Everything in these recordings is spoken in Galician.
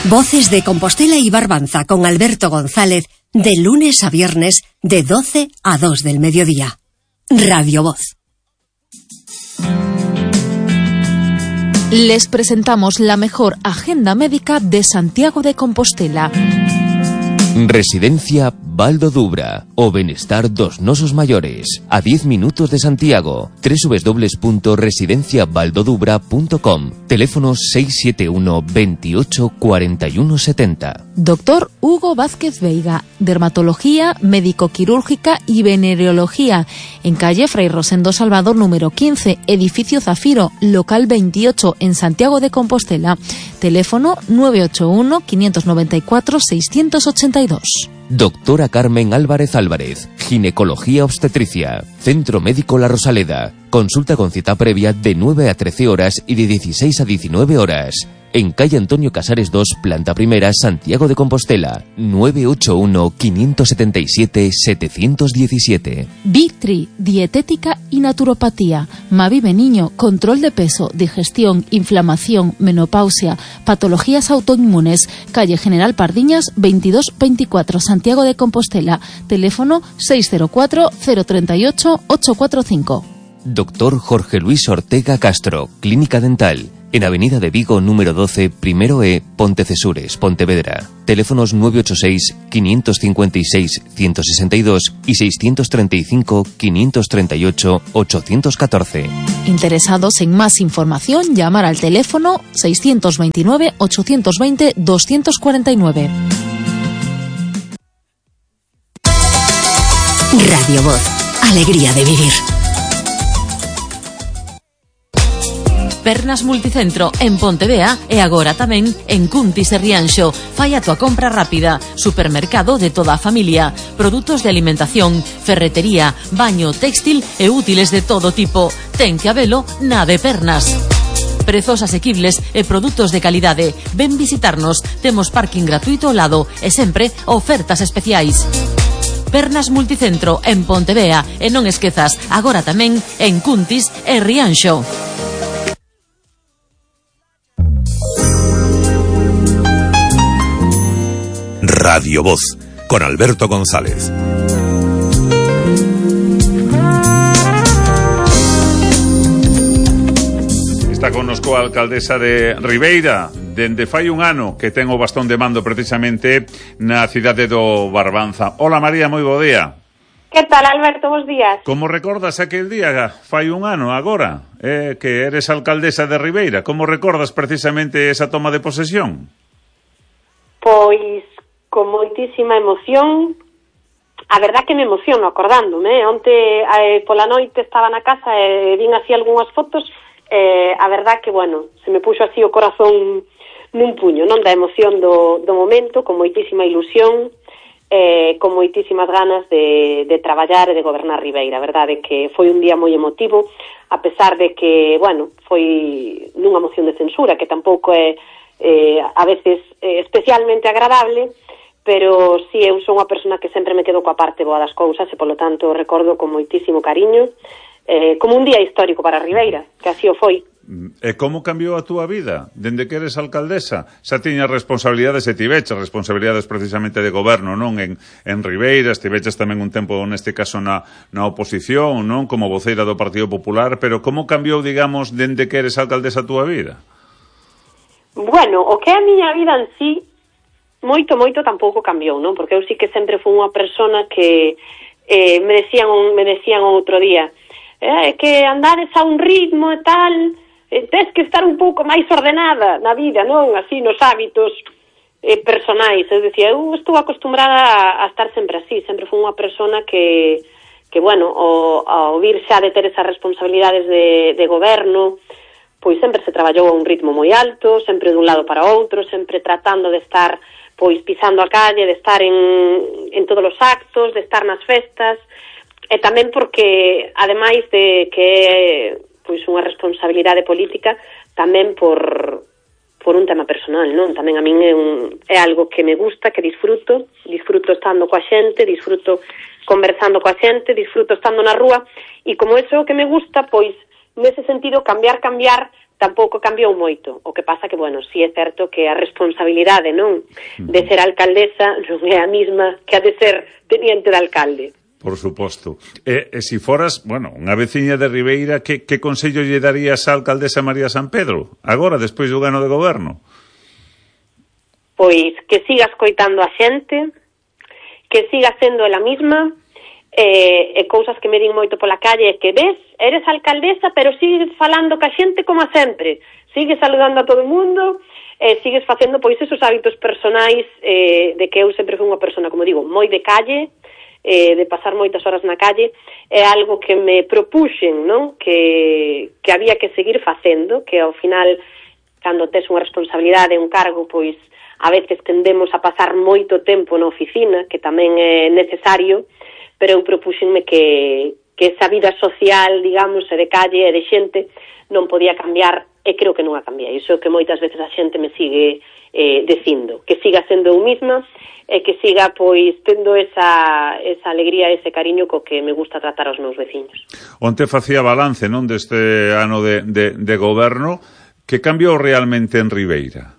Voces de Compostela y Barbanza con Alberto González, de lunes a viernes, de 12 a 2 del mediodía. Radio Voz. Les presentamos la mejor agenda médica de Santiago de Compostela. Residencia Baldo Dubra, o Benestar dos Nosos Mayores, a 10 minutos de Santiago. www.residenciabaldodubra.com. Teléfono 671 28 41 70. Doctor Hugo Vázquez Veiga, dermatología, médico-quirúrgica y venereología, en calle Fray Rosendo Salvador número 15, edificio Zafiro, local 28, en Santiago de Compostela. Teléfono 981 594 682. Doctora Carmen Álvarez Álvarez, ginecología obstetricia, Centro Médico La Rosaleda. Consulta con cita previa de 9 a 13 horas y de 16 a 19 horas. En calle Antonio Casares 2, planta primera, Santiago de Compostela. 981 577 717. Vitri, dietética y naturopatía. Mavive Niño, control de peso, digestión, inflamación, menopausia, patologías autoinmunes. Calle General Pardiñas 2224, Santiago de Compostela. Teléfono 604 038 845. Doctor Jorge Luis Ortega Castro, Clínica Dental. En Avenida de Vigo, número 12, primero E, Pontecesures, Pontevedra. Teléfonos 986 556 162 y 635 538 814. Interesados en más información, llamar al teléfono 629 820 249. Radio Voz. Alegría de vivir. Pernas Multicentro en Pontevea e agora tamén en Cuntis e Rianxo. Fai a tua compra rápida. Supermercado de toda a familia. Produtos de alimentación, ferretería, baño, textil e útiles de todo tipo. Ten que habelo na de Pernas. Prezos asequibles e produtos de calidade. Ven visitarnos. Temos parking gratuito ao lado e sempre ofertas especiais. Pernas Multicentro en Pontevea e non esquezas, agora tamén en Cuntis e Rianxo. Radio Voz, con Alberto González. Está connosco a alcaldesa de Ribeira, dende fai un ano que ten o bastón de mando precisamente na cidade do Barbanza. Hola María, moi bo día. Que tal, Alberto? Bos días. Como recordas aquel día, fai un ano agora, que eres alcaldesa de Ribeira? Como recordas precisamente esa toma de posesión? Pois con moitísima emoción. A verdad que me emociono acordándome. Onte pola noite estaba na casa e vin así algunhas fotos. A verdad que, bueno, se me puxo así o corazón nun puño, non, da emoción do momento, con moitísima ilusión, con moitísimas ganas de traballar e de gobernar Ribeira. A verdade que foi un día moi emotivo, a pesar de que, bueno, foi nunha moción de censura, que tampouco é a veces especialmente agradable, pero si eu son unha persona que sempre me quedo coa parte boa das cousas e, polo tanto, recordo con moitísimo cariño, como un día histórico para Ribeira, que así o foi. E como cambiou a túa vida dende que eres alcaldesa? Xa tiñas responsabilidades e tiveches responsabilidades precisamente de goberno, non? En Ribeira, estiveches tamén un tempo, neste caso, na oposición, non? Como voceira do Partido Popular, pero como cambiou, digamos, dende que eres alcaldesa a túa vida? Bueno, o que é a miña vida en sí, moito tampouco cambiou, non? Porque eu sí que sempre fui unha persona que me decían outro día, que andades a un ritmo e tal, tes que estar un pouco máis ordenada na vida, non? Así, nos hábitos personais. Eu dicía, eu estou acostumbrada a estar sempre así, sempre fui unha persona que bueno, ao vir xa de ter esas responsabilidades de goberno, pois sempre se traballou a un ritmo moi alto, sempre dun lado para outro, sempre tratando de estar pois pisando a calle, de estar en todos os actos, de estar nas festas, e tamén porque, ademais de que é pois unha responsabilidade política, tamén por un tema personal, non? Tamén a min é algo que me gusta, que disfruto estando coa xente, disfruto conversando coa xente, disfruto estando na rúa, e como eso que me gusta, pois, nese sentido, cambiar, tampouco cambiou moito. O que pasa que, bueno, si é certo que a responsabilidade, non, de ser alcaldesa non é a mesma que a de ser teniente de alcalde. Por suposto. E se foras, bueno, unha veciña de Ribeira, que consello lle darías á alcaldesa María San Pedro, agora, despois do gano de goberno? Pois que siga escoitando a xente, que siga sendo ela mesma, e cousas que me din moito pola calle é que ves, eres alcaldesa pero sigues falando ca xente como sempre, sigues saludando a todo o mundo, sigues facendo pois esos hábitos personais de que eu sempre fui unha persona, como digo, moi de calle, de pasar moitas horas na calle, é algo que me propuxen, non? Que había que seguir facendo, que ao final, cando tes unha responsabilidade, un cargo, pois a veces tendemos a pasar moito tempo na oficina, que tamén é necesario, pero eu propuxenme que esa vida social, digamos, e de calle e de xente non podía cambiar, e creo que non a cambia. Iso que moitas veces a xente me sigue dicindo, que siga sendo eu mesma e que siga, pois, tendo esa alegría, ese cariño co que me gusta tratar aos meus veciños. Onte facía balance, non, deste ano de goberno, que cambiou realmente en Ribeira?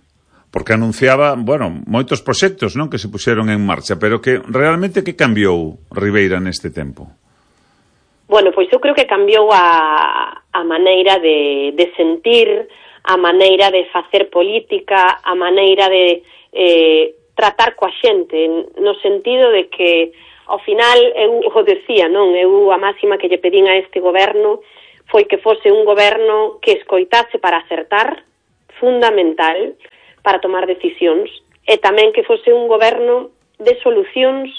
Porque anunciaba, bueno, moitos proxectos, non, que se puxeron en marcha, pero que realmente que cambiou Ribeira neste tempo? Bueno, pois eu creo que cambiou a maneira de sentir, a maneira de facer política, a maneira de tratar coa xente, no sentido de que, ao final, eu o decía, non? Eu a máxima que lle pedín a este goberno foi que fose un goberno que escoitase para acertar, fundamental, para tomar decisións, e tamén que fose un goberno de solucións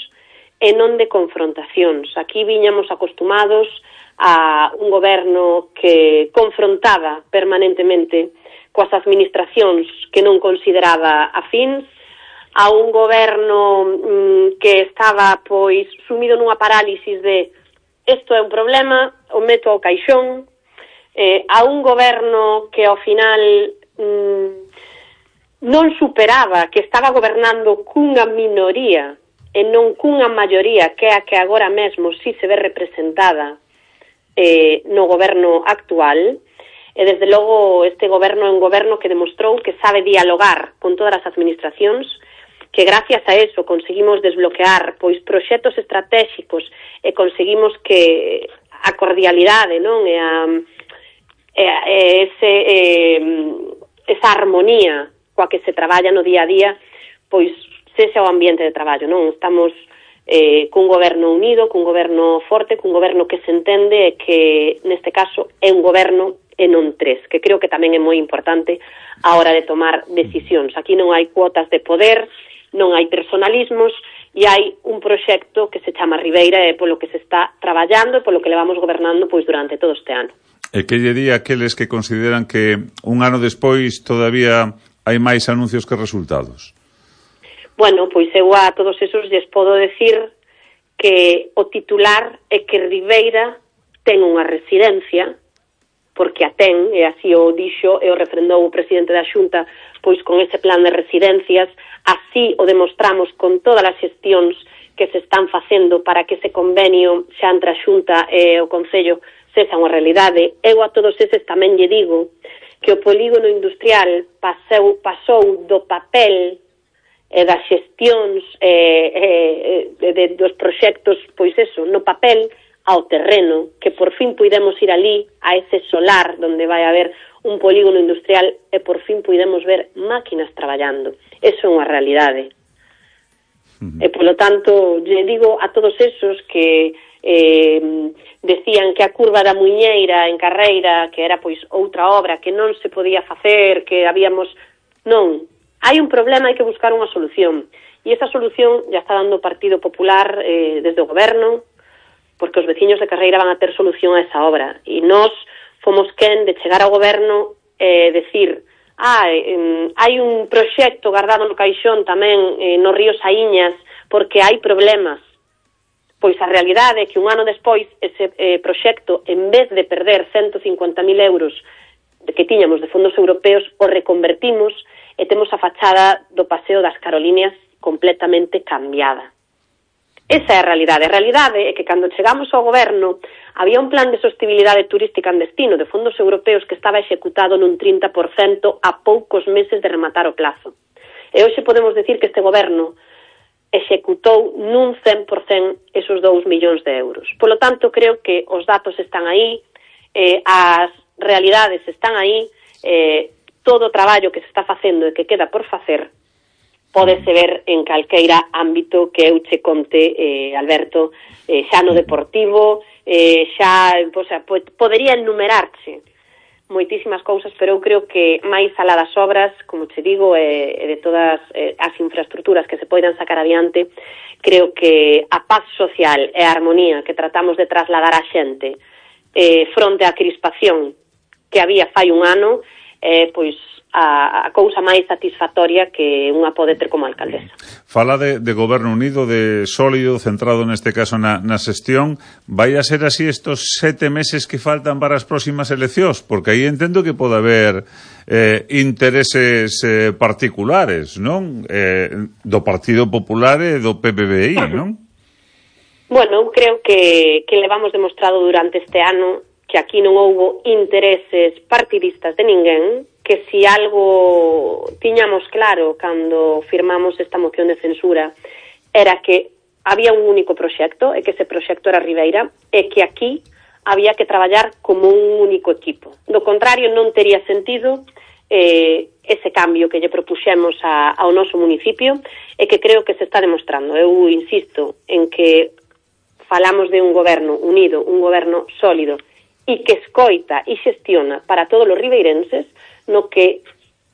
e non de confrontacións. Aquí viñamos acostumados a un goberno que confrontaba permanentemente coas administracións que non consideraba afíns, a un goberno que estaba, pois, sumido nunha parálisis de isto é un problema, o meto ao caixón, a un goberno que ao final non superaba, que estaba gobernando cunha minoría e non cunha maioría, que é a que agora mesmo si se ve representada no goberno actual. E desde logo este goberno é un goberno que demostrou que sabe dialogar con todas as administracións, que gracias a eso conseguimos desbloquear pois proxectos estratégicos e conseguimos que a cordialidade, non, e esa armonía coa que se traballa no día a día, pois sexa o ambiente de traballo, non? Estamos cun goberno unido, cun goberno forte, cun goberno que se entende e que, neste caso, é un goberno e non tres, que creo que tamén é moi importante a hora de tomar decisións. Aquí non hai cuotas de poder, non hai personalismos, e hai un proxecto que se chama Ribeira e polo que se está traballando e polo que levamos gobernando pois durante todo este ano. E que lle di aqueles que consideran que un ano despois todavía hai máis anuncios que resultados? Bueno, pois eu a todos esos lles podo decir que o titular é que Ribeira ten unha residencia, porque a ten, e así o dixo e o refrendou o presidente da Xunta, pois con ese plan de residencias, así o demostramos con todas as xestións que se están facendo para que ese convenio xa entre a Xunta e o Concello sexa unha realidade. Eu a todos eses tamén lle digo que o polígono industrial pasou do papel e das xestións dos proxectos, pois eso, no papel ao terreno, que por fin puidemos ir ali a ese solar onde vai haber un polígono industrial e por fin puidemos ver máquinas traballando. Eso é unha realidade. E polo tanto, lle digo a todos esos que decían que a curva da Muiñeira en Carreira, que era pois outra obra que non se podía facer, que habíamos... Non, hai un problema, hai que buscar unha solución. E esa solución ya está dando o Partido Popular desde o goberno, porque os veciños de Carreira van a ter solución a esa obra. E nós fomos quen de chegar ao goberno e decir hai un proxecto guardado no caixón tamén no río Saíñas porque hai problemas. Pois a realidade é que un ano despois ese proxecto, en vez de perder 150.000 euros que tiñamos de fondos europeos, o reconvertimos e temos a fachada do Paseo das Caroliñas completamente cambiada. Esa é a realidade. A realidade é que cando chegamos ao goberno había un plan de sostibilidade turística en destino de fondos europeos que estaba executado nun 30% a poucos meses de rematar o plazo. E hoxe podemos decir que este goberno executou nun 100% esos 2 millóns de euros. Polo tanto, creo que os datos están aí, as realidades están aí, todo o traballo que se está facendo e que queda por facer pódese ver en calqueira ámbito que eu che conte, Alberto, xa no deportivo, xa, o sea, podería enumerarche moitísimas cousas, pero eu creo que máis alá das obras, como che digo, e de todas as infraestructuras que se poidan sacar adiante, creo que a paz social e a armonía que tratamos de trasladar á xente fronte á crispación que había fai un ano, pois a cousa máis satisfactoria que unha pode ter como alcaldesa. Fala de goberno unido, de sólido, centrado neste caso na xestión. Vai a ser así estos 7 meses que faltan para as próximas eleccións? Porque aí entendo que pode haber intereses particulares, non? Do Partido Popular e do PPBI, non? Bueno, eu creo que levamos demostrado durante este ano que aquí non houbo intereses partidistas de ninguén, que si algo tiñamos claro cando firmamos esta moción de censura era que había un único proxecto e que ese proxecto era Ribeira e que aquí había que traballar como un único equipo. Do contrario, non tería sentido ese cambio que lle propuxemos ao noso municipio e que creo que se está demostrando. Eu insisto en que falamos de un goberno unido, un goberno sólido e que escoita e xestiona para todos os ribeirenses, no que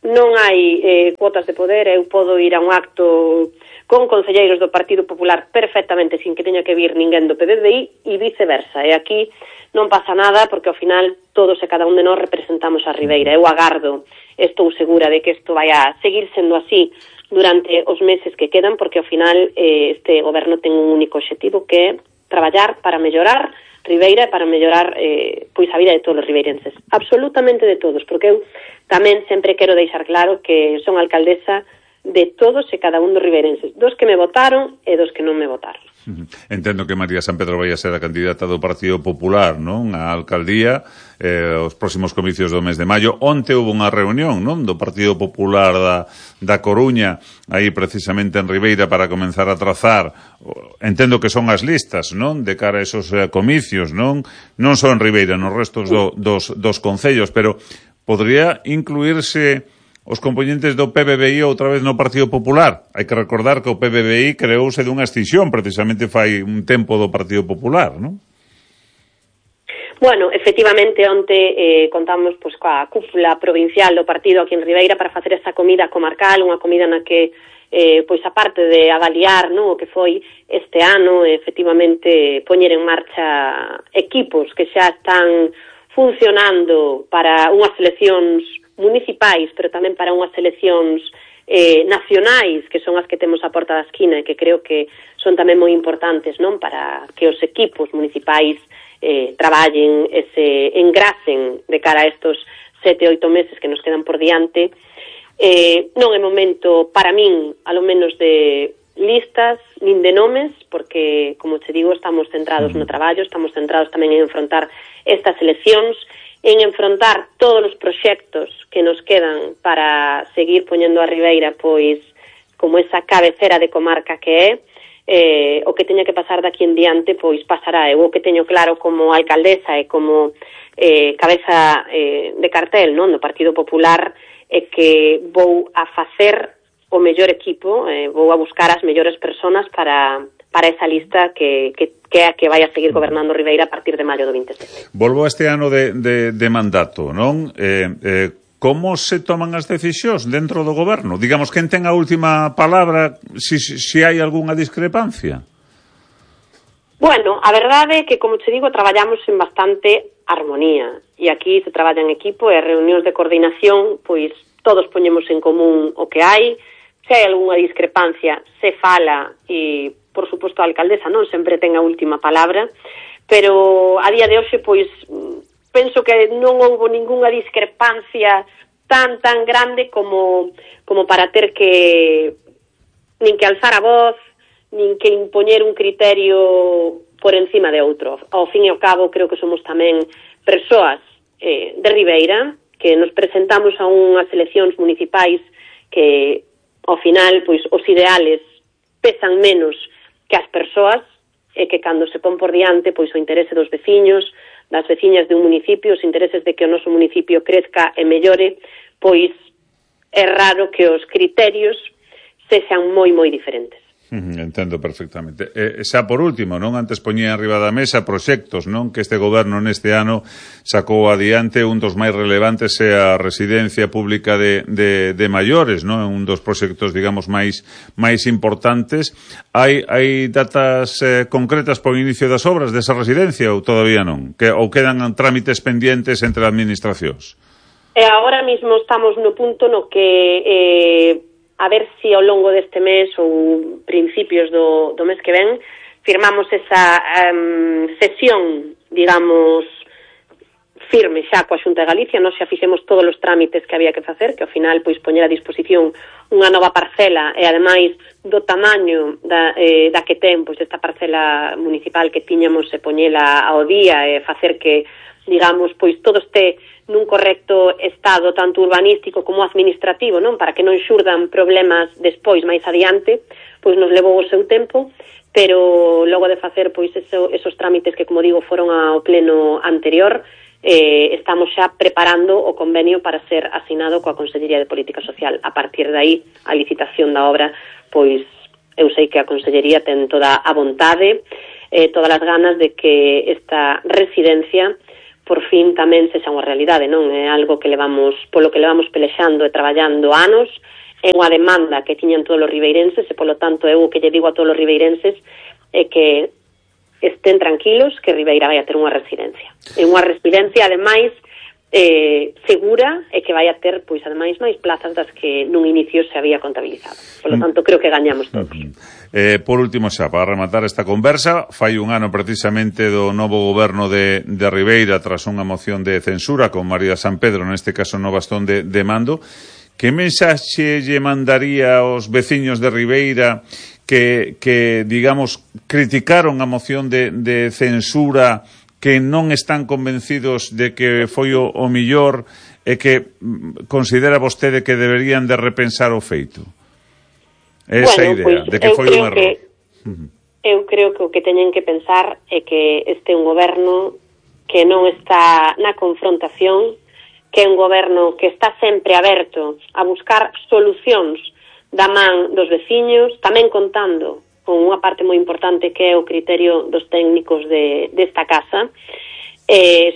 non hai cuotas de poder. Eu podo ir a un acto con concelleiros do Partido Popular perfectamente sin que teña que vir ninguén do PPBI e viceversa. E aquí non pasa nada porque ao final todos e cada un de nós representamos a Ribeira. Eu agardo, estou segura de que isto vai a seguir sendo así durante os meses que quedan, porque ao final este goberno ten un único obxectivo, que é traballar para mellorar Ribeira e para mellorar pois a vida de todos os ribeirenses, absolutamente de todos, porque eu tamén sempre quero deixar claro que son alcaldesa de todos e cada un dos ribeirenses, dos que me votaron e dos que non me votaron. Entendo que María San Pedro vai a ser a candidata do Partido Popular, non? A alcaldía, os próximos comicios do mes de maio. Onte houve unha reunión, non? Do Partido Popular da Coruña, aí precisamente en Ribeira, para comenzar a trazar, entendo que son as listas, non? De cara a esos comicios, non? Non só en Ribeira, nos restos dos concellos, pero podría incluirse os componentes do PPBI outra vez no Partido Popular. Hai que recordar que o PPBI creouse dunha extinción, precisamente fai un tempo do Partido Popular, non? Bueno, efectivamente, onte contamos pois coa cúpula provincial do partido aquí en Ribeira para facer esa comida comarcal, unha comida na que pois a parte de avaliar, non, o que foi este ano, efectivamente poñer en marcha equipos que xa están funcionando para unhas eleccións municipais, pero tamén para unhas eleccións nacionais, que son as que temos a porta da esquina e que creo que son tamén moi importantes, non, para que os equipos municipais traballen e se engrasen de cara a estos 7-8 meses que nos quedan por diante. Non é momento, para min, a lo menos de listas, nin de nomes, porque, como te digo, estamos centrados no traballo, estamos centrados tamén en enfrontar estas eleccións, en enfrontar todos os proxectos que nos quedan para seguir poñendo a Ribeira pois como esa cabecera de comarca que é, o que teña que pasar daqui en diante pois pasará. Eu o que teño claro como alcaldesa e como cabeza de cartel, non, do Partido Popular, é que vou a facer o mellor equipo, vou a buscar as mellores personas para esa lista que é a que vai a seguir gobernando Ribeira a partir de maio do 27. Volvo a este ano de mandato, non? Como se toman as decisións dentro do goberno? Digamos, quen ten a última palabra, se hai algunha discrepancia? Bueno, a verdade é que, como te digo, traballamos en bastante armonía. E aquí se traballa en equipo e as reunións de coordinación, pois todos poñemos en común o que hai. Se hai algunha discrepancia, se fala e, por suposto, a alcaldesa non sempre ten a última palabra, pero a día de hoxe, pois, penso que non houbo ningunha discrepancia tan grande como para ter que nin que alzar a voz, nin que impoñer un criterio por encima de outro. Ao fin e ao cabo, creo que somos tamén persoas de Ribeira, que nos presentamos a unhas eleccións municipais que, ao final, pois, os ideales pesan menos que as persoas, e que cando se pon por diante, pois, o interese dos veciños, das veciñas de un municipio, os intereses de que o noso municipio crezca e mellore, pois é raro que os criterios sexan moi, moi diferentes. Entendo perfectamente. Xa por último, non, antes poñía arriba da mesa proxectos, non, que este goberno neste ano sacou adiante. Un dos máis relevantes é a residencia pública de maiores, non, un dos proxectos, digamos, máis importantes. Hai datas concretas para o inicio das obras desa residencia ou todavía non? Ou quedan trámites pendientes entre administracións? Agora mesmo estamos no punto no que a ver se ao longo deste mes ou principios do mes que ven firmamos esa sesión, digamos, firme xa coa Xunta de Galicia. Nós xa fixemos todos os trámites que había que facer, que ao final pois poñer a disposición unha nova parcela e ademais do tamaño da que ten pois esta parcela municipal que tiñamos e poñela ao día e facer que, digamos, pois todo este nun correcto estado tanto urbanístico como administrativo, non, para que non xurdan problemas despois máis adiante, pois nos levou o seu tempo, pero logo de facer pois esos trámites que, como digo, foron ao pleno anterior, estamos xa preparando o convenio para ser asinado coa Consellería de Política Social. A partir de aí, a licitación da obra, pois eu sei que a Consellería ten toda a vontade, todas as ganas de que esta residencia por fin tamén sexa unha realidade, non? É algo que polo que levamos pelexando e traballando anos, é unha demanda que tiñan todos os ribeirenses e, polo tanto, eu o que lle digo a todos os ribeirenses é que estén tranquilos que Ribeira vai a ter unha residencia. É unha residencia, ademais, segura e que vai a ter, pois, ademais, máis plazas das que nun inicio se había contabilizado. Polo tanto, creo que gañamos todos. Por último xa, para rematar esta conversa, fai un ano precisamente do novo goberno de Ribeira tras unha moción de censura con María San Pedro, neste caso no bastón de mando. Que mensaxe lle mandaría aos veciños de Ribeira que digamos, criticaron a moción de censura, que non están convencidos de que foi o millor e que considera vostede que deberían de repensar o feito? Esa idea, de que foi un error. Eu creo que o que teñen que pensar é que este é un goberno que non está na confrontación, que é un goberno que está sempre aberto a buscar solucións da man dos veciños, tamén contando con unha parte moi importante que é o criterio dos técnicos desta casa,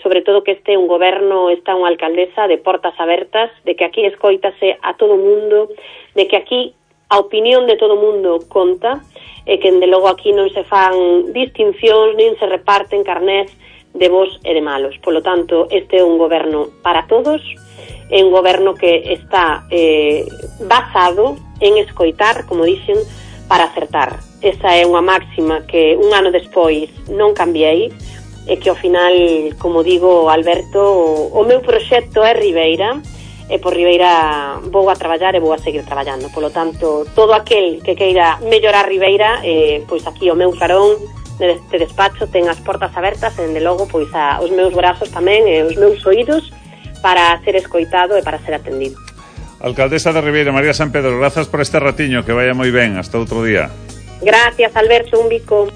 sobre todo que este é un goberno, está unha alcaldesa de portas abertas, de que aquí escoítase a todo mundo, de que aquí a opinión de todo mundo conta, e que, de logo, aquí non se fan distincións, nin se reparten carnés de bos e de malos. Polo tanto, este é un goberno para todos, é un goberno que está basado en escoitar, como dixen, para acertar. Esa é unha máxima que un ano despois non cambiei, e que ao final, como digo, Alberto, o meu proxecto é Ribeira, e por Ribeira vou a traballar e vou a seguir traballando. Polo tanto, todo aquel que queira mellorar Ribeira, pois aquí o meu carón deste despacho ten as portas abertas e, dende logo, pois os meus brazos tamén e os meus oídos para ser escoitado e para ser atendido. Alcaldesa de Ribeira, María San Pedro, grazas por este ratiño, que vaya moi ben, hasta outro día. Gracias, Alberto, un bico.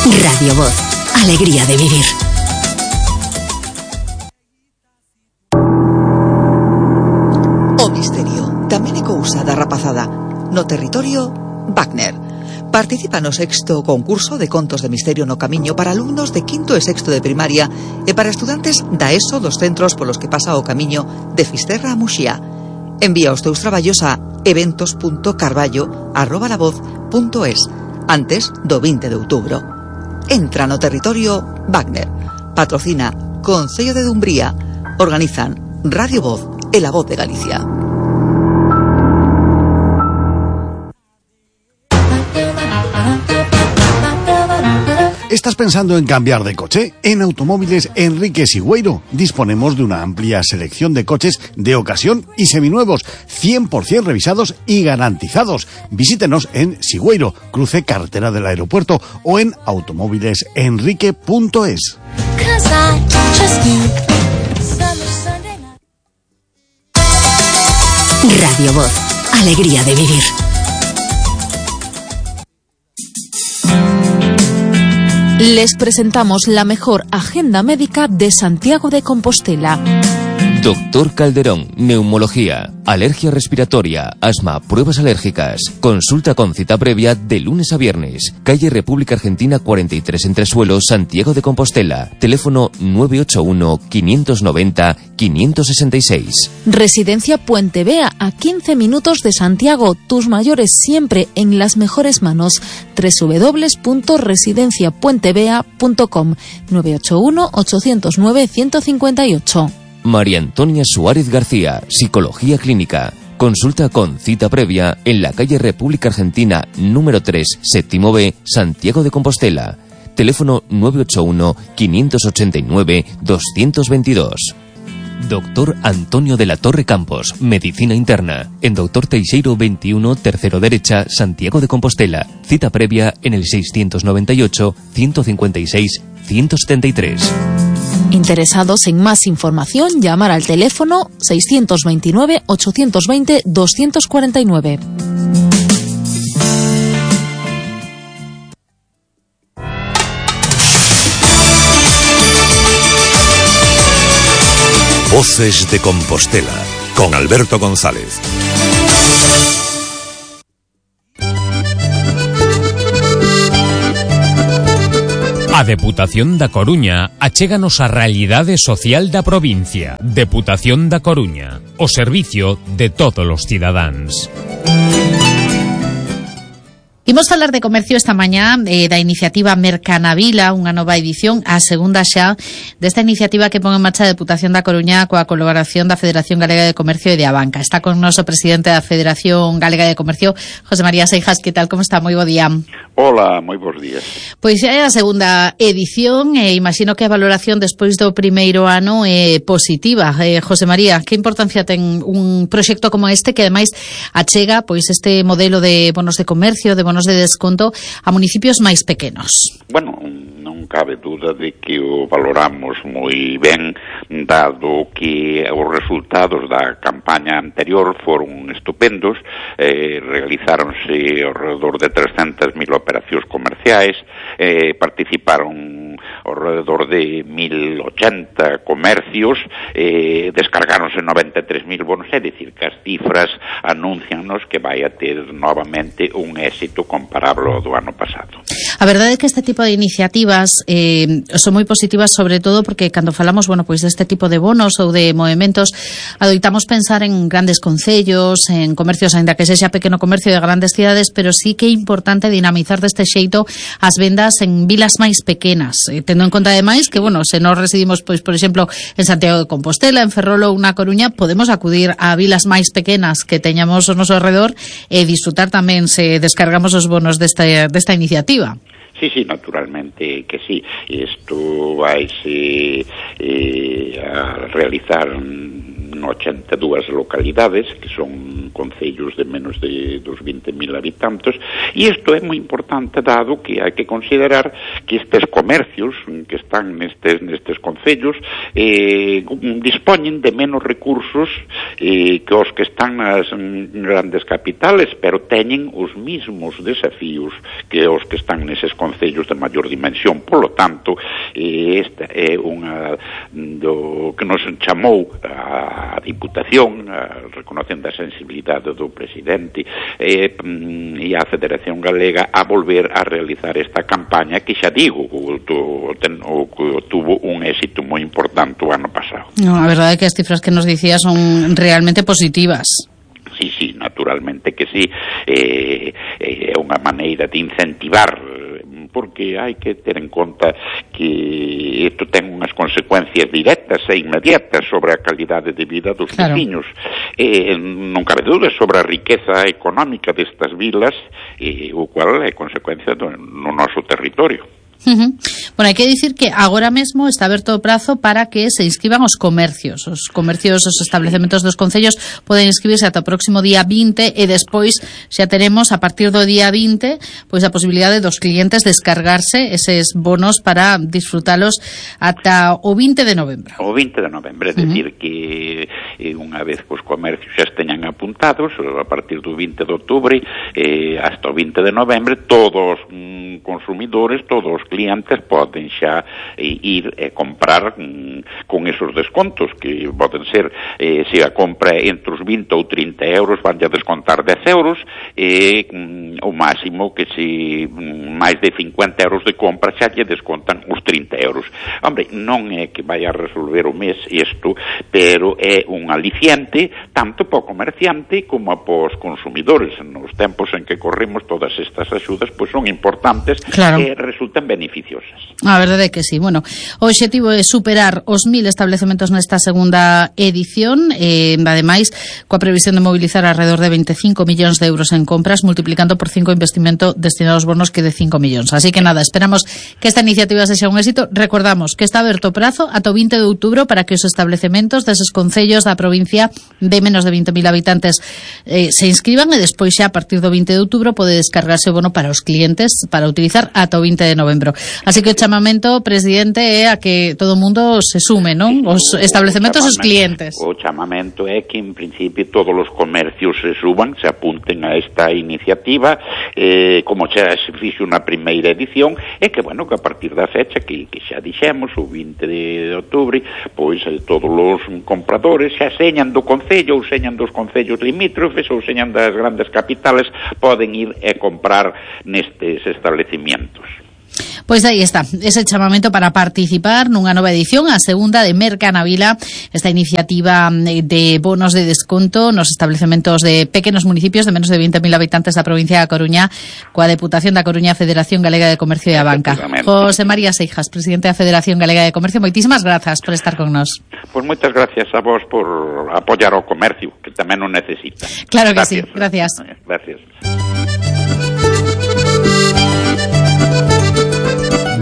Radio Voz, alegría de vivir. O misterio tamén é cousa da rapazada. No territorio, Wagner. Participa no 6º concurso de contos de misterio no Camiño para alumnos de 5º e 6º de primaria e para estudantes da ESO dos centros polos que pasa o Camiño de Fisterra a Muxía. Envía os teus traballos a eventos.carballo@lavoz.es antes do 20 de outubro. Entra no territorio Wagner. Patrocina Concello de Dumbría. Organizan Radio Voz e La Voz de Galicia. ¿Estás pensando en cambiar de coche? En Automóviles Enrique Sigüeiro disponemos de una amplia selección de coches de ocasión y seminuevos, 100% revisados y garantizados. Visítenos en Sigüeiro, cruce carretera del aeropuerto, o en automóvilesenrique.es. Radio Voz, alegría de vivir. Les presentamos la mejor agenda médica de Santiago de Compostela. Doctor Calderón, neumología, alergia respiratoria, asma, pruebas alérgicas. Consulta con cita previa de lunes a viernes. Calle República Argentina 43 Entresuelo, Santiago de Compostela. Teléfono 981-590-566. Residencia Puente Vea, a 15 minutos de Santiago. Tus mayores siempre en las mejores manos. www.residenciapuentevea.com 981-809-158. María Antonia Suárez García, Psicología Clínica. Consulta con cita previa en la calle República Argentina número 3, séptimo B, Santiago de Compostela. Teléfono 981-589-222. Doctor Antonio de la Torre Campos, Medicina Interna. En Doctor Teixeiro 21, tercero derecha, Santiago de Compostela. Cita previa en el 698-156-173. Interesados en más información, llamar al teléfono 629-820-249. Voces de Compostela, con Alberto González. A Deputación da Coruña achéganos a realidade social da provincia. Deputación da Coruña, o servicio de todos os cidadáns. Imos falar de comercio esta mañá, da iniciativa Mercanavila, unha nova edición, a segunda xa desta iniciativa que pon en marcha a Deputación da Coruña coa colaboración da Federación Galega de Comercio e de Abanca. Está con nos o presidente da Federación Galega de Comercio, José María Seijas. Que tal, como está? Moi bo día. Hola, moi bons días. Pois é a segunda edición, e imagino que a valoración despois do primeiro ano é positiva. José María, que importancia ten un proxecto como este, que ademais achega pois este modelo de bonos de comercio, de bonos de desconto a municipios máis pequenos? Bueno, non cabe duda de que o valoramos moi ben, dado que os resultados da campaña anterior foron estupendos. Realizáronse alrededor de 300.000 operacións comerciais, participaron alrededor de 1.080 comercios, descargáronse 93.000 bonos, é dicir, que as cifras anuncianos que vai a ter novamente un éxito comparable ao do ano pasado. A verdade é que este tipo de iniciativas son moi positivas, sobre todo porque cando falamos, bueno, pois deste tipo de bonos ou de movementos, adoitamos pensar en grandes concellos, en comercios, aínda que sexa pequeno comercio de grandes cidades, pero sí que é importante dinamizar deste xeito as vendas en vilas máis pequenas, tendo en conta ademais que, bueno, se nós residimos, pois, por exemplo, en Santiago de Compostela, en Ferrol ou na Coruña, podemos acudir a vilas máis pequenas que teñamos ao noso alrededor e disfrutar tamén se descargamos os bonos desta iniciativa. Sí, naturalmente que sí. Isto vaise a realizar en 82 localidades, que son concellos de menos de 20.000 habitantes, e isto é moi importante, dado que hai que considerar que estes comercios que están nestes concellos dispoñen de menos recursos que os que están nas grandes capitales, pero teñen os mismos desafíos que os que están neses concellos de maior dimensión. Polo tanto, esta é unha do que nos chamou a Diputación, reconocendo a sensibilidade do presidente e a Federación Galega a volver a realizar esta campaña que, xa digo, tuvo un éxito moi importante o ano pasado. No, a verdade é que as cifras que nos dicía son realmente positivas. Sí, naturalmente que sí. É unha maneira de incentivar, porque hai que ter en conta que isto ten unhas consecuencias directas e inmediatas sobre a calidade de vida dos veciños. Non cabe dúda sobre a riqueza económica destas vilas, o cual é consecuencia no noso territorio. Bueno, hai que dicir que agora mesmo está aberto o prazo para que se inscriban os comercios. Os establecementos dos concellos poden inscribirse ata o próximo día 20 e despois xa teremos a partir do día 20 pois a posibilidade dos clientes descargarse eses bonos para disfrutalos ata o 20 de novembro. O 20 de novembro, é dicir que unha vez que os comercios xa esteñan apuntados, a partir do 20 de outubro hasta o 20 de novembro, todos os consumidores, todos os clientes poden xa ir e comprar con esos descontos que poden ser, se a compra entre os 20 ou 30 euros van a descontar 10 euros e o máximo que se máis de 50 euros de compra xa lle descontan os 30 euros. Hombre, non é que vai a resolver o mes isto, pero é un aliciente tanto para o comerciante como para os consumidores. Nos tempos en que corremos, todas estas axudas pois son importantes, claro, e resultan beneficiosas. A verdade é que sí. Bueno, o obxectivo é superar os 1000 establecementos nesta segunda edición, ademais, coa previsión de mobilizar alrededor de 25 millóns de euros en compras, multiplicando por 5 o investimento destinado aos bonos que de 5 millóns. Así que nada, esperamos que esta iniciativa sexa un éxito. Recordamos que está aberto o prazo ata o 20 de outubro para que os establecementos deses concellos da provincia de menos de 20.000 habitantes se inscriban e despois xa a partir do 20 de outubro pode descargarse o bono para os clientes para utilizar ata o 20 de novembro. Así que o chamamento, presidente, é a que todo o mundo se sume, non? Os establecementos e os clientes. O chamamento é que, en principio, todos os comercios se suban, se apunten a esta iniciativa, como xa se fixo na primeira edición, e que, bueno, que a partir da fecha que xa dixemos, o 20 de outubro, pois todos os compradores xa señan do concello ou señan dos concellos limítrofes ou señan das grandes capitales, poden ir e comprar nestes establecimientos. Pois aí está, ese chamamento para participar nunha nova edición, a segunda de Mercanavila, esta iniciativa de bonos de desconto nos establecementos de pequenos municipios de menos de 20.000 habitantes da provincia da Coruña, coa Deputación da Coruña, Federación Galega de Comercio e a Banca. José María Seijas, presidente da Federación Galega de Comercio, moitísimas grazas por estar con nós. Pois moitas gracias a vos por apoiar o comercio, que tamén o necesita. Claro que sí, gracias. Gracias.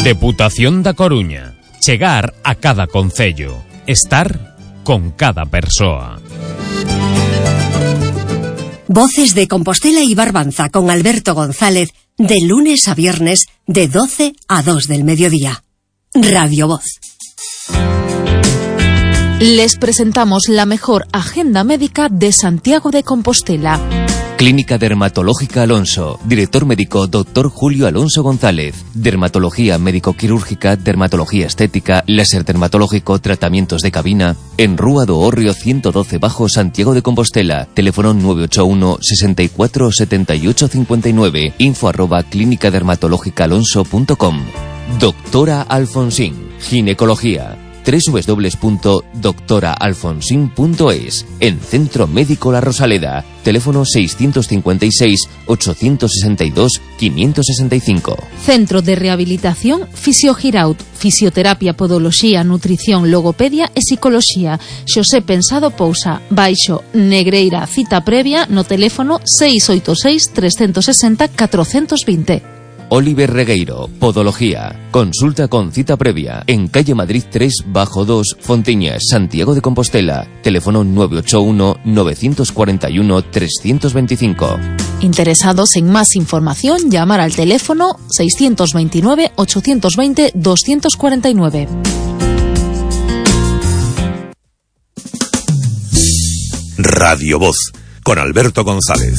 Deputación da Coruña. Chegar a cada concello. Estar con cada persoa. Voces de Compostela y Barbanza con Alberto González de lunes a viernes de 12 a 2 del mediodía. Radio Voz. Les presentamos la mejor agenda médica de Santiago de Compostela. Clínica Dermatológica Alonso. Director médico Dr. Julio Alonso González. Dermatología médico-quirúrgica, dermatología estética, láser dermatológico, tratamientos de cabina. En Rúa do Hórreo 112 Bajo, Santiago de Compostela. Teléfono 981 64 78 59. info@clínicadermatológicaalonso.com. Doctora Alfonsín. Ginecología. www.doctoraalfonsin.es. En Centro Médico La Rosaleda. Teléfono 656-862-565. Centro de Rehabilitación Fisiogiraut. Fisioterapia, podoloxía, nutrición, logopedia e psicoloxía. Xosé Pensado Pousa. Baixo Negreira. Cita previa no teléfono 686 360 420. Oliver Regueiro, Podología. Consulta con cita previa en calle Madrid 3 bajo 2, Fontiñas, Santiago de Compostela. Teléfono 981 941 325. Interesados en más información, llamar al teléfono 629 820 249. Radio Voz, con Alberto González.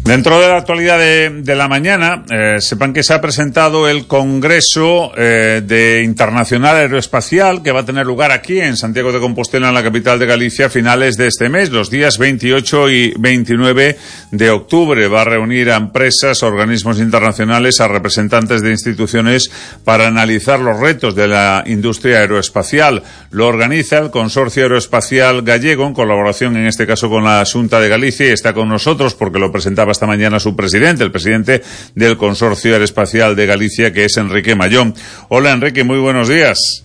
Dentro de la actualidad de la mañana, sepan que se ha presentado el Congreso de Internacional Aeroespacial que va a tener lugar aquí en Santiago de Compostela, en la capital de Galicia, a finales de este mes, los días 28 y 29 de octubre. Va a reunir a empresas, organismos internacionales, a representantes de instituciones para analizar los retos de la industria aeroespacial. Lo organiza el Consorcio Aeroespacial Gallego, en colaboración en este caso con la Xunta de Galicia, y está con nosotros porque lo presentaba esta mañana su presidente, el presidente del Consorcio Aeroespacial de Galicia, que es Enrique Mayón. Hola, Enrique, muy buenos días.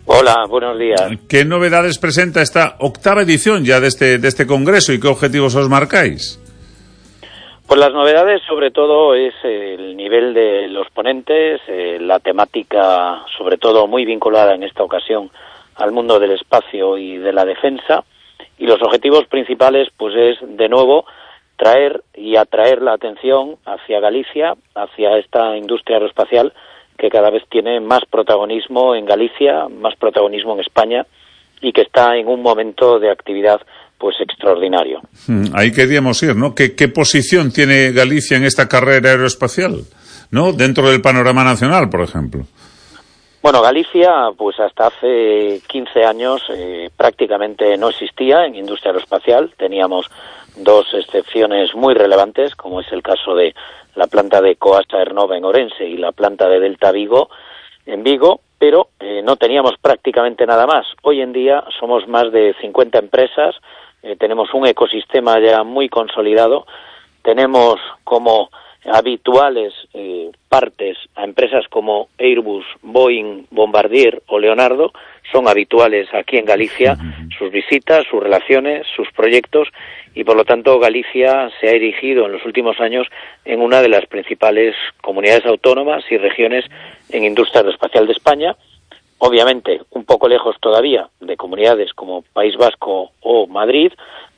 Hola, buenos días. ¿Qué novedades presenta esta octava edición ya de este congreso y qué objetivos os marcáis? Pues las novedades sobre todo es el nivel de los ponentes, la temática sobre todo muy vinculada en esta ocasión al mundo del espacio y de la defensa, y los objetivos principales pues es de nuevo traer y atraer la atención hacia Galicia, hacia esta industria aeroespacial que cada vez tiene más protagonismo en Galicia, más protagonismo en España y que está en un momento de actividad pues extraordinario. Ahí queríamos ir, ¿no? ¿Qué posición tiene Galicia en esta carrera aeroespacial, ¿no? Dentro del panorama nacional, por ejemplo. Bueno, Galicia, pues hasta hace 15 años prácticamente no existía en industria aeroespacial. Teníamos dos excepciones muy relevantes, como es el caso de la planta de Coasa Aernova en Orense y la planta de Delta Vigo en Vigo, pero no teníamos prácticamente nada más. Hoy en día somos más de 50 empresas, tenemos un ecosistema ya muy consolidado, tenemos como habituales partes a empresas como Airbus, Boeing, Bombardier o Leonardo, son habituales aquí en Galicia, sus visitas, sus relaciones, sus proyectos, y por lo tanto Galicia se ha erigido en los últimos años en una de las principales comunidades autónomas y regiones en industria aeroespacial de España, obviamente un poco lejos todavía de comunidades como País Vasco o Madrid,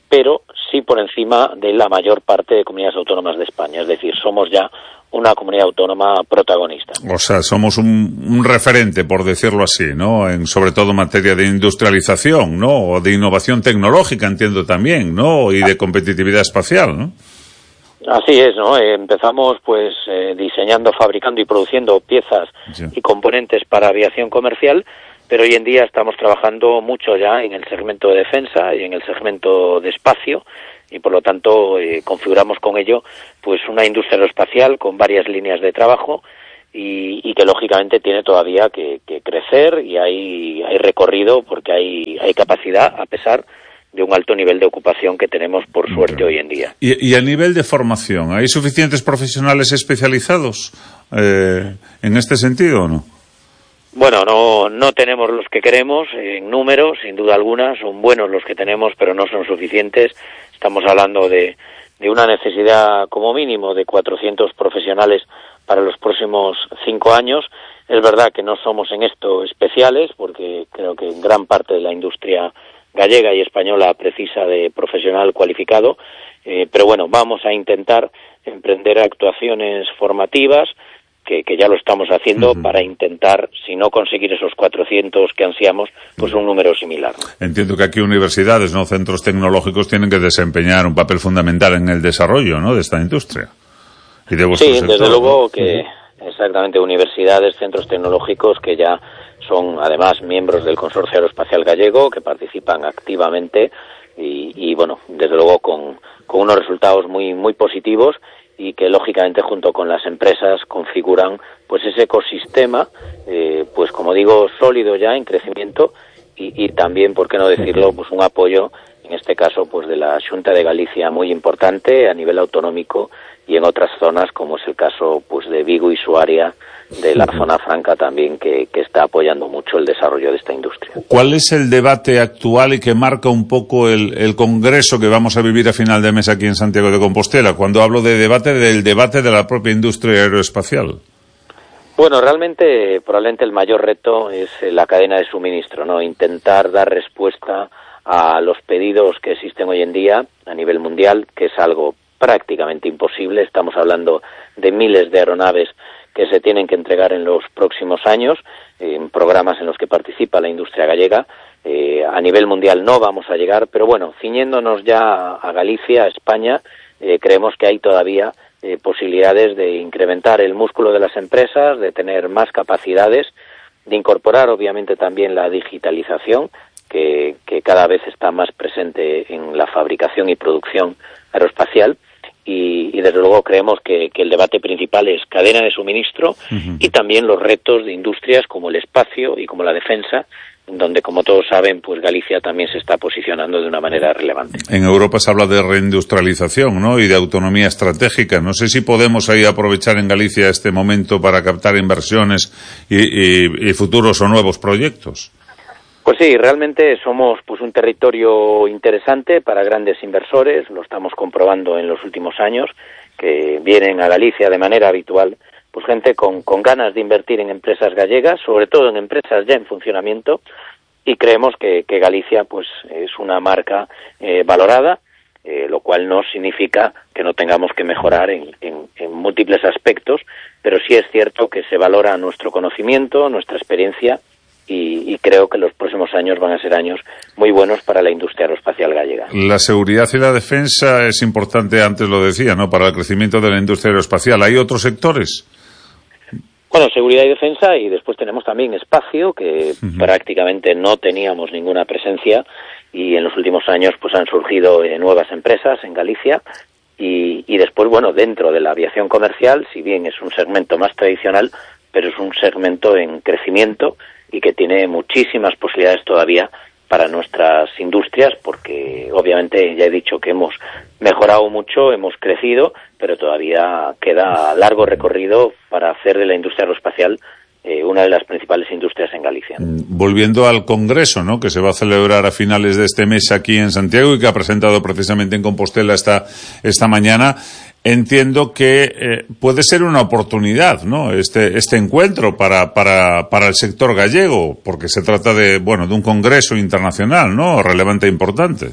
pero sí por encima de la mayor parte de comunidades autónomas de España, es decir, somos ya una comunidad autónoma protagonista. O sea, somos un referente, por decirlo así, ¿no? Sobre todo en materia de industrialización, ¿no? O de innovación tecnológica, entiendo también, ¿no? Y de competitividad espacial, ¿no? Así es, ¿no? Empezamos pues diseñando, fabricando y produciendo piezas y componentes para aviación comercial, pero hoy en día estamos trabajando mucho ya en el segmento de defensa y en el segmento de espacio, y por lo tanto configuramos con ello pues una industria aeroespacial con varias líneas de trabajo y que lógicamente tiene todavía que crecer, y hay recorrido porque hay capacidad a pesar de un alto nivel de ocupación que tenemos por suerte hoy en día. ¿Y a nivel de formación, hay suficientes profesionales especializados en este sentido o no? Bueno, no tenemos los que queremos en números, sin duda alguna, son buenos los que tenemos, pero no son suficientes. Estamos hablando de una necesidad como mínimo de 400 profesionales para los próximos 5 años. Es verdad que no somos en esto especiales, porque creo que gran parte de la industria gallega y española precisa de profesional cualificado, pero bueno, vamos a intentar emprender actuaciones formativas, que ya lo estamos haciendo, para intentar, si no conseguir esos 400 que ansiamos, pues un número similar. Entiendo que aquí universidades, ¿no? Centros tecnológicos tienen que desempeñar un papel fundamental en el desarrollo, ¿no? De esta industria. Y de vuestro sector, desde luego, ¿no? Que exactamente, universidades, centros tecnológicos que ya son además miembros del Consorcio Aeroespacial Gallego, que participan activamente y bueno, desde luego con unos resultados muy, muy positivos, y que lógicamente junto con las empresas configuran pues ese ecosistema, pues como digo, sólido ya en crecimiento, y también, por qué no decirlo, pues un apoyo, en este caso pues de la Xunta de Galicia, muy importante a nivel autonómico, y en otras zonas, como es el caso pues de Vigo y su área de la zona franca también, que está apoyando mucho el desarrollo de esta industria. ¿Cuál es el debate actual y que marca un poco el congreso que vamos a vivir a final de mes aquí en Santiago de Compostela? Cuando hablo de debate, del debate de la propia industria aeroespacial. Bueno, realmente, probablemente el mayor reto es la cadena de suministro, ¿no? Intentar dar respuesta a los pedidos que existen hoy en día a nivel mundial, que es algo prácticamente imposible. Estamos hablando de miles de aeronaves que se tienen que entregar en los próximos años, en programas en los que participa la industria gallega. A nivel mundial no vamos a llegar, pero bueno, ciñéndonos ya a Galicia, a España, creemos que hay todavía posibilidades de incrementar el músculo de las empresas, de tener más capacidades, de incorporar obviamente también la digitalización, que cada vez está más presente en la fabricación y producción aeroespacial. Y desde luego creemos que el debate principal es cadena de suministro y también los retos de industrias como el espacio y como la defensa, donde, como todos saben, pues Galicia también se está posicionando de una manera relevante. En Europa se habla de reindustrialización, ¿no? Y de autonomía estratégica. No sé si podemos ahí aprovechar en Galicia este momento para captar inversiones y futuros o nuevos proyectos. Pues sí, realmente somos pues un territorio interesante para grandes inversores, lo estamos comprobando en los últimos años, que vienen a Galicia de manera habitual, pues gente con ganas de invertir en empresas gallegas, sobre todo en empresas ya en funcionamiento, y creemos que Galicia pues es una marca valorada, lo cual no significa que no tengamos que mejorar en múltiples aspectos, pero sí es cierto que se valora nuestro conocimiento, nuestra experiencia, y creo que los próximos años van a ser años muy buenos para la industria aeroespacial gallega. La seguridad y la defensa es importante, antes lo decía, ¿no?, para el crecimiento de la industria aeroespacial. ¿Hay otros sectores? Bueno, seguridad y defensa, y después tenemos también espacio, que prácticamente no teníamos ninguna presencia, y en los últimos años pues han surgido nuevas empresas en Galicia, y después, bueno, dentro de la aviación comercial, si bien es un segmento más tradicional, pero es un segmento en crecimiento y que tiene muchísimas posibilidades todavía para nuestras industrias, porque obviamente ya he dicho que hemos mejorado mucho, hemos crecido, pero todavía queda largo recorrido para hacer de la industria aeroespacial una de las principales industrias en Galicia. Volviendo al Congreso, ¿no?, que se va a celebrar a finales de este mes aquí en Santiago y que ha presentado precisamente en Compostela esta mañana, entiendo que puede ser una oportunidad, ¿no?, este encuentro para el sector gallego, porque se trata de un congreso internacional, ¿no?, relevante e importante.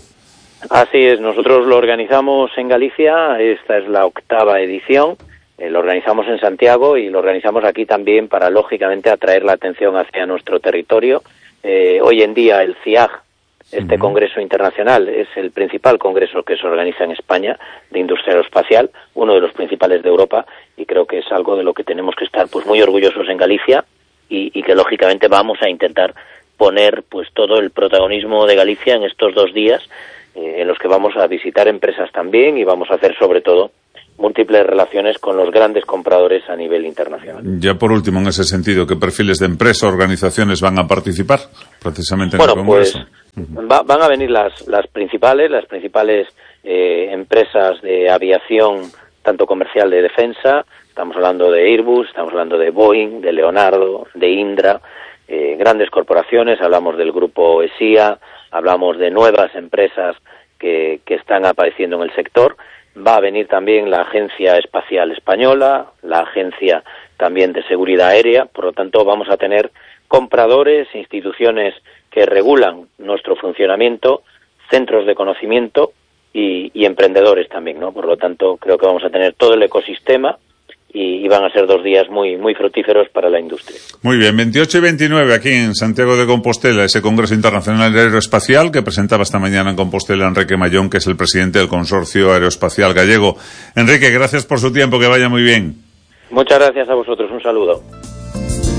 Así es, nosotros lo organizamos en Galicia, esta es la 8ª edición, lo organizamos en Santiago y lo organizamos aquí también para, lógicamente, atraer la atención hacia nuestro territorio. Hoy en día el CIAG, este congreso internacional, es el principal congreso que se organiza en España de industria aeroespacial, uno de los principales de Europa, y creo que es algo de lo que tenemos que estar pues muy orgullosos en Galicia y que lógicamente vamos a intentar poner pues todo el protagonismo de Galicia en estos 2 días, en los que vamos a visitar empresas también y vamos a hacer sobre todo múltiples relaciones con los grandes compradores a nivel internacional. Ya por último, en ese sentido, ¿qué perfiles de empresas o organizaciones van a participar precisamente en el Congreso? Pues van a venir las principales empresas de aviación, tanto comercial de defensa. Estamos hablando de Airbus, estamos hablando de Boeing, de Leonardo, de Indra, grandes corporaciones. Hablamos del grupo ESIA, hablamos de nuevas empresas que están apareciendo en el sector. Va a venir también la Agencia Espacial Española, la Agencia también de Seguridad Aérea. Por lo tanto, vamos a tener compradores, instituciones que regulan nuestro funcionamiento, centros de conocimiento y emprendedores también, ¿no? Por lo tanto, creo que vamos a tener todo el ecosistema y van a ser 2 días muy, muy fructíferos para la industria. Muy bien, 28 y 29 aquí en Santiago de Compostela, ese Congreso Internacional Aeroespacial que presentaba esta mañana en Compostela Enrique Mayón, que es el presidente del Consorcio Aeroespacial Gallego. Enrique, gracias por su tiempo, que vaya muy bien. Muchas gracias a vosotros, un saludo.